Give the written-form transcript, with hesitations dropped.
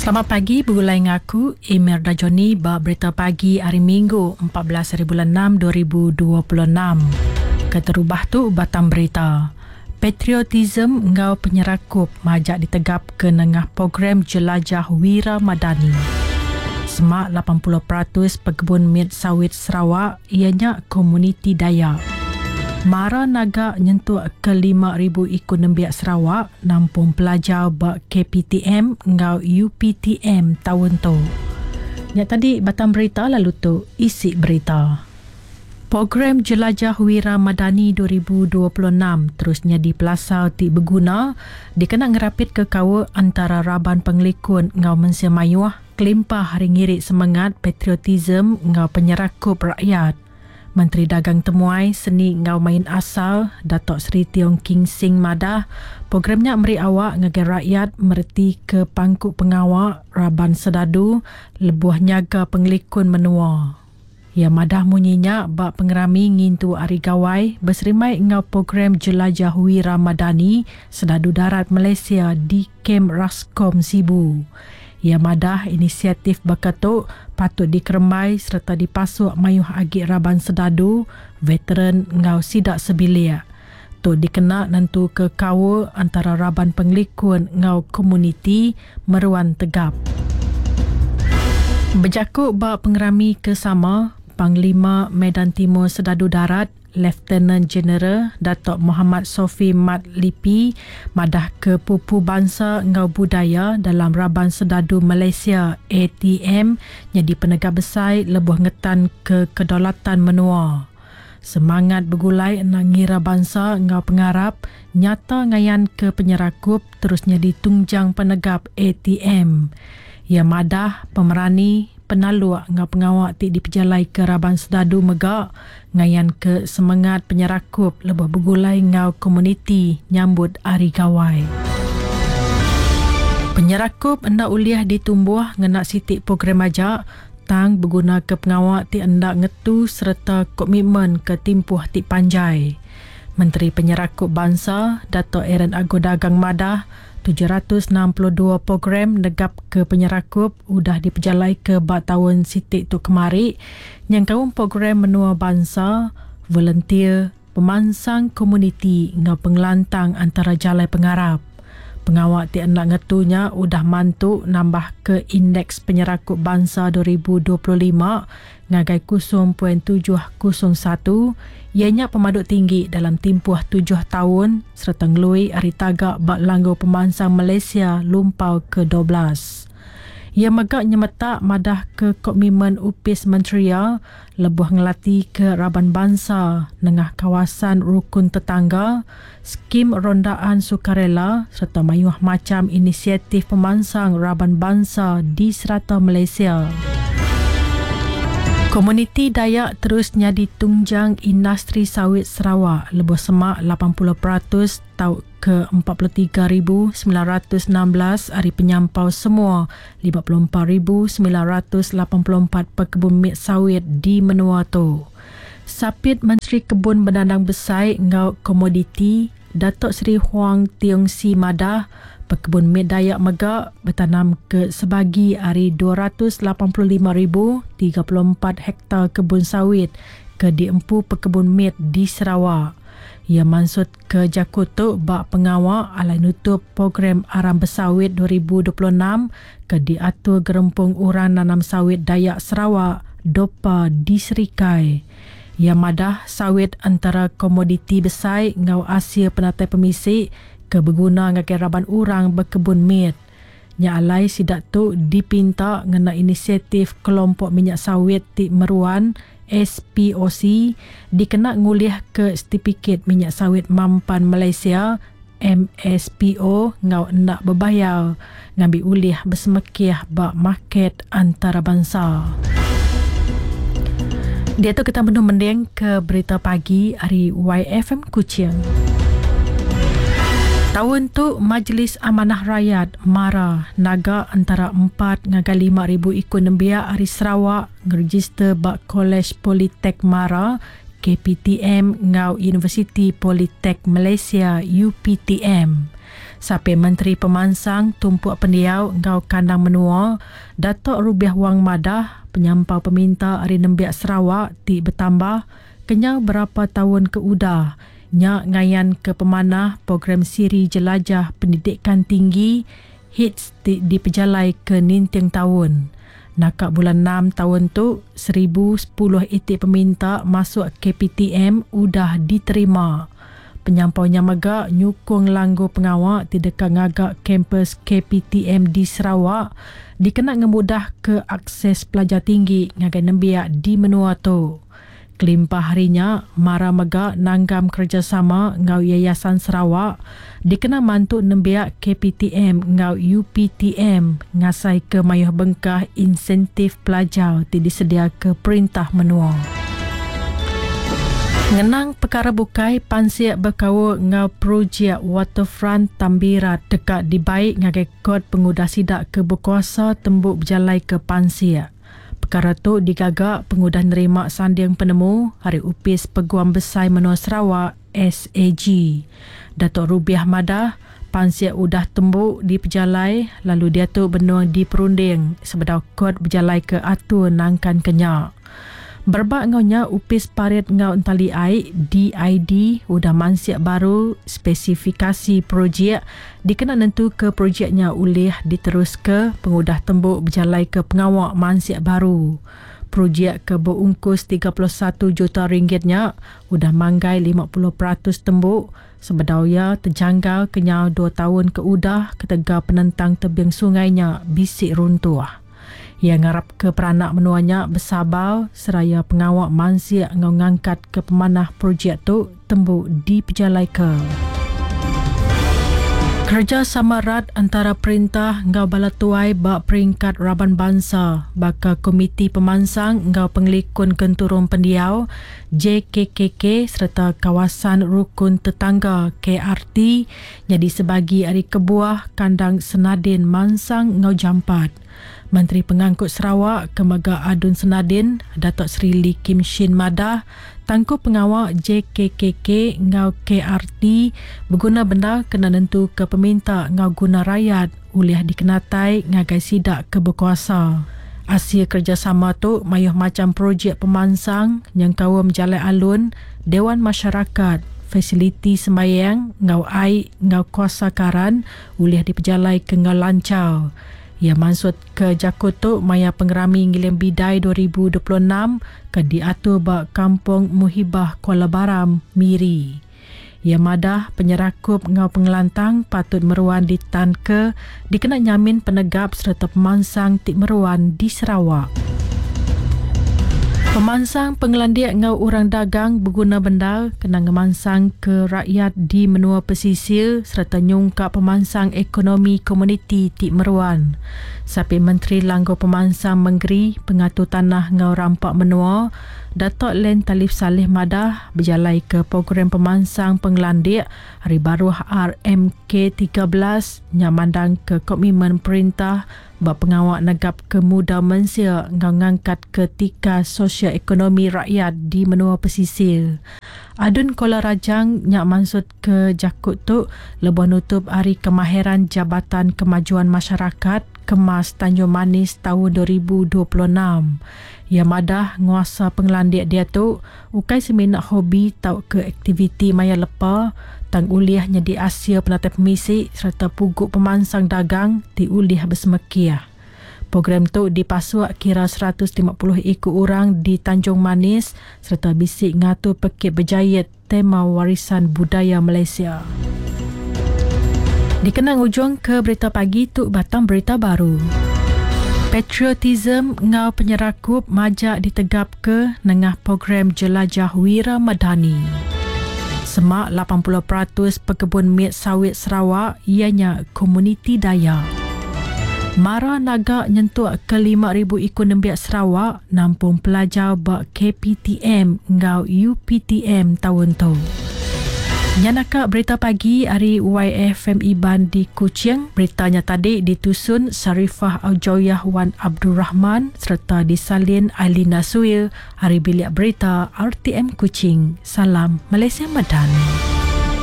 Selamat pagi begulai enggau aku Emerda Johnny ba Berita Pagi hari Minggu 14 hari bulan 6 2026. Keterubah tu batang berita. Patriotism enggau penyerakup majak ditegapka nengah program Jelajah Wira Madani. Semak 80% pekebun mit sawit Sarawak iya nya komuniti Dayak. Mara naga nyentuk ke 5,000 iku nembiak Sarawak nampung pelajar ba KPTM enggau UPTM taun tu. Nya tadi batang berita lalu tu isi berita. Program Jelajah Wira Madani 2026 terus nyadi pelasar ti beguna dikena ngerapitka kaul antara raban pengelikun enggau mensia mayuh kelimpah ari ngiri semengat patriotisme enggau penyerakup rakyat. Menteri Dagang Temuai, Seni enggau Main Asal, Datuk Seri Tiong King Sing madah, program nya meri awak ngagai rakyat meretika pangku pengawa raban sedadu lebuh nyaga pengelikun menua. Iya madah munyi nya ba pengerami ngintu Hari Gawai beserimbai enggau Program Jelajah Wira Madani Sedadu Darat Malaysia di Kem Rascom Sibu. Iya madah inisiatif baka tu patut dikerembai sereta dipasuk mayuh agi raban sedadu, veteran enggau sida sebilik. Tu dikena nentuka kaul antara raban pengelikun enggau komuniti meruan tegap. Bejaku ba pengerami ke sama, Panglima Medan Timur Sedadu Darat, Leftenan Jeneral Datuk Mohamad Sofi Mat Lipi madahka pupu bansa enggau budaya dalam Raban Sedadu Malaysia, ATM, nyadi penegap besai lebuh ngetanka kedaulatan menua. Semangat begulai enda ngira bansa enggau pengarap nyata ngayanka penyerakup terus nyadi tungjang penegap ATM. Iya madah, pemerani, penaluk enggau pengawa ti dipejalaika raban sedadu mega ngayanka semengat penyerakup lebuh begulai enggau komuniti nyambut Hari Gawai. Penyerakup enda ulih ditumbuh ngena siti program aja tang begunaka pengawa ti enda ngetu sereta komitmen ke timpuh ti panjai. Menteri Penyerakup Bansa, Datuk Aaron Ago Dagang madah, 762 program negapka penyerakup udah dipejalaika ba taun siti tu kemari nyengkaum program menua bansa, volunteer, pemansang komuniti enggau pengelantang antara jalai pengarap. Pengawa ti enda ngetu nya udah mantu nambahka Indeks Penyerakup Bansa 2025 ngagai 0.701, iya nya pemadu tinggi dalam timpuh tujuh taun sereta ngelui ari taga ba Langgur Pemansang Malaysia Lumpau ke 12. Iya mega nyemetak madahka komitmen opis menteri iya lebuh ngelatika raban bansa nengah kawasan rukun tetangga, skim rondaan sukarela sereta mayuh macham inisiatif pemansang raban bansa di serata Malaysia. Komuniti Dayak terus nyadi tungjang industri sawit Sarawak lebuh semak 80% tauka ke 43,916 ari penyampau semua 54,984 pekebun mit sawit di menua tu. Sapit Menteri Kebun Bedandang Besai enggau Komoditi, Datuk Seri Huang Tiong Sii madah, pekebun mit Dayak mega betanamka sebagi ari 285,034 hektar kebun sawit ke diempu pekebun mit di Sarawak. Iya mansutka jaku tu ba pengawa alai nutup Program Aram Besawit 2026 ke diatur Gerempung Orang Nanam Sawit Dayak Sarawak, DOPA, di Serikai. Iya madah sawit entara komoditi besai enggau asil penatai pemisi ke beguna ngagai raban orang bekebun mit. Nya alai sida tu dipinta ngena inisiatif Kelompok Minyak Sawit ti Meruan, SPOC, dikena ngulihka setipikit minyak sawit mampan Malaysia, MSPO, enggau enda bebayar ngambi ulih besemekih ba market antarabansa. Diatu kita benung mendingka berita pagi ari YFM Kuching. Taun tu Majlis Amanah Rayat, MARA, naga entara empat ngagai 5,000 iku nembiak ari Sarawak ngerejister ba Kolej Politek MARA, KPTM, enggau Universiti Politek Malaysia, UPTM. Sapit Menteri Pemansang Tumpuk Pendiau enggau Kandang Menua, Datuk Rubiah Wang madah, penyampau peminta ari nembiak Sarawak ti betambah kenyau berapa taun ke udah nya ngayanka pemanah program siri Jelajah Pendidikan Tinggi, HITS, ti dipejalaika ninting taun. Naka bulan enam taun tu, 1010 iti peminta masuk KPTM udah diterima. Penyampau nya mega nyukung langgur pengawa ti deka ngaga kampus KPTM di Sarawak dikena ngemudahka akses pelajar tinggi ngagai nembiak di menua tu. Kelimpah ari nya, Mara mega nanggam kerejasama enggau Yayasan Sarawak dikena mantu nembiak KPTM enggau UPTM ngasaika mayuh bengkah insentif pelajar ti disediaka perintah menua. Ngenang pekara bukai, pansik bekaul enggau projek Waterfront Tambirat deka dibai ngagai kot pengudah sida ke bekuasa tembu bejalaika pansik. Pekara tu digaga pengudah nerima sanding penemu ari Opis Peguam Besai Menua Sarawak, SAG. Datuk Rubiah madah, pansik udah tembu dipejalai lalu diatu benung diperunding sebedau kot bejalaika atur nangkanka nya. Berebak enggau nya, Opis Parit enggau Entali Ai, DID, udah mansik baru spesifikasi projek dikena nentuka projek nya ulih diteruska pengudah tembu bejalaika pengawa mansik baru. Projek ke beungkus 31 juta ringgit nya udah manggai 50% tembu sebedau iya tejanggal kenyau dua taun ke udah ketegal penentang tebing sungai nya bisi runtuh. Iya ngarapka peranak menua nya besabar seraya pengawa mansik enggau ngangkatka pemanah projek tu tembu dipejalaika. Kerejasama rat entara perintah enggau bala tuai ba peringkat raban bansa baka Komiti Pemansang enggau Pengelikun Genturung Pendiau, JKKK, sereta Kawasan Rukun Tetangga, KRT, nyadi sebagi ari kebuah kandang Senadin mansang enggau jampat. Menteri Pengangkut Sarawak ke mega ADUN Senadin, Datuk Seri Lee Kim Shin madah, tangkup pengawa JKKK enggau KRT beguna bendar kena nentuka peminta enggau guna rayat ulih dikenatai ngagai sida ke bekuasa. Asil kerejasama tu mayuh macham projek pemansang nyengkaum jalai alun, Dewan Masyarakat, fasiliti sembayang enggau ai enggau kuasa karan ulih dipejalaika enggau lanchar. Iya mansutka jaku tu maya Pengerami Ngiling Bidai 2026 ke diatur ba Kampung Muhibah Kuala Baram, Miri. Iya madah penyerakup enggau pengelantang patut meruan ditanka dikena nyamin penegap sereta pemansang ti meruan di Sarawak. Pemansang pengelandik enggau orang dagang beguna bendar kena ngemansangka rakyat di menua pesisir sereta nyungkak pemansang ekonomi komuniti ti meruan. Sapit Menteri Langgur Pemansang Mengeri, Pengatur Tanah enggau Rampa Menua, Datuk Len Talif Salleh madah bejalaika program pemansang pengelandik ari baruh RMK 13 nya mandangka komitmen perintah ba pengawa negapka muda mensia enggau ngangkatka tikas sosio-ekonomi rakyat di menua pesisir. Adun Kuala Rajang nya mansutka jaku tu lebuh nutup Hari Kemahiran Jabatan Kemajuan Masyarakat Kemas Tanjung Manis taun 2026. Iya madah nguasa pengelandik diatu ukai semina hobi tauka aktiviti maya lepa tang ulih nyadi asil penatai pemisi sereta pugu pemansang dagang ti ulih besemekih. Program tu dipasuk kira 150 iku orang di Tanjung Manis sereta bisi ngatur pekit bejait tema Warisan Budaya Malaysia. Dikena ngujungka berita pagi tu batang berita baru. Patriotism enggau penyerakup majak ditegapka nengah program Jelajah Wira Madani. Semak 80% pekebun mit sawit Sarawak iya nya komuniti Dayak. Mara naga nyentuk ke 5,000 iku nembiak Sarawak nampung pelajar ba KPTM enggau UPTM taun tu. Nya naka berita pagi ari YFM Iban di Kuching. Berita nya tadi ditusun Sharifah Aujoyah Wan Abdul Rahman sereta disalin Ailina Suil ari Bilik Berita RTM Kuching. Salam Malaysia Madani.